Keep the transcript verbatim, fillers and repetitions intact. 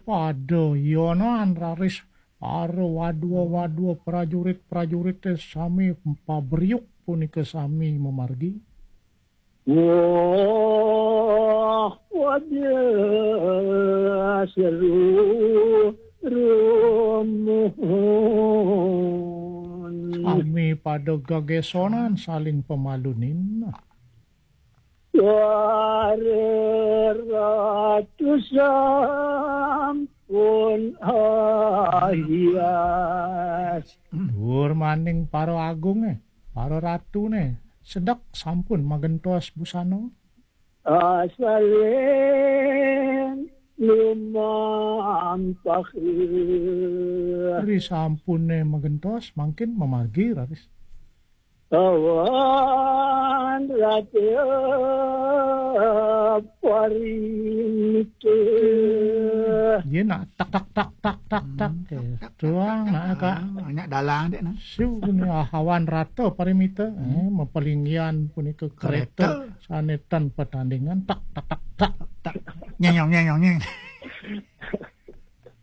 Pada yonan raris para wadwa-wadwa prajurit-prajurite sami pabriuk punika sami mamargi. Wah, pada seru rumuhun. Sami pada gegesonan saling pamalunin. Para ratu sampun ahias. Duur maning para agunge, para ratune, sedek sampun magentos busana. Asalin lumampah. Ri sampune magentos, mangkin mamargi raris. Awan ratu parimita. Iya, nak tak, tak, tak, tak, tak. Hmm, Eh, tak, tak, tuang, tak, nak, tak. Kak. Ah, banyak dalang dek, nah. Su, ni, ah, awan ratu parimita. Hmm. Eh, mapalinggihan punika kereta. Kereta. Sane tan patandingan. Tak, tak, tak, tak. Tak. Nyenyong, nyenyong, nyenyong.